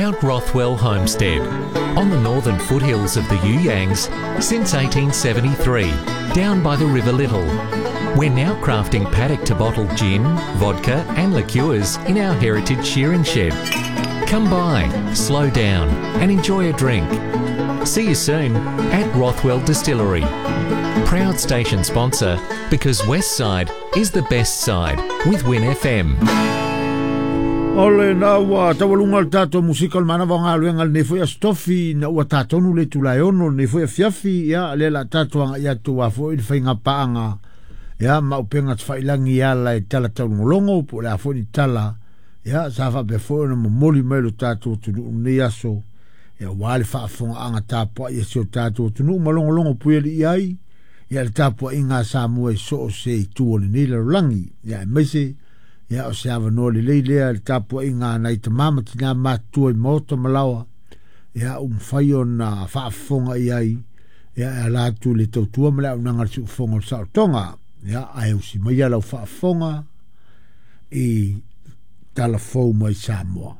About Rothwell Homestead, on the northern foothills of the You Yangs since 1873, down by the River Little. We're now crafting paddock to bottle gin, vodka, and liqueurs in our heritage shearing shed. Come by, slow down, and enjoy a drink. See you soon at Rothwell Distillery. Proud station sponsor because West Side is the best side with Win FM. O lena ua taualuga le tatou musika o le manava o galuega lenei foi aso tofi ina ua tatonu le itula e ono lenei foi afiafi. Ia, lea la tatou agai atu a foi le faigapaaga ia ma upega tafailagi e ala i tala taulogologo po o le a foi ni tala ia sa faapea foi ona momoli mai lo tatou atunuu lenei aso ia aua le faafofogaaga tapuai a si o tatou atunuu ma logologo puialii ai ia le tapuaiga a Samoa i so o se itu o lenei lalolagi ia aemaise ia o se avanoa lelei lea le tapuaiga a nai tamā ma tinā matutua i maota ma laoa ia ua mafai ona faafofoga i ai ia e ala atu i le tautua ma le auaunaga a le siufofoga o le saolotoga ia ae usi maia lau faafofoga i tala fou mai Samoa.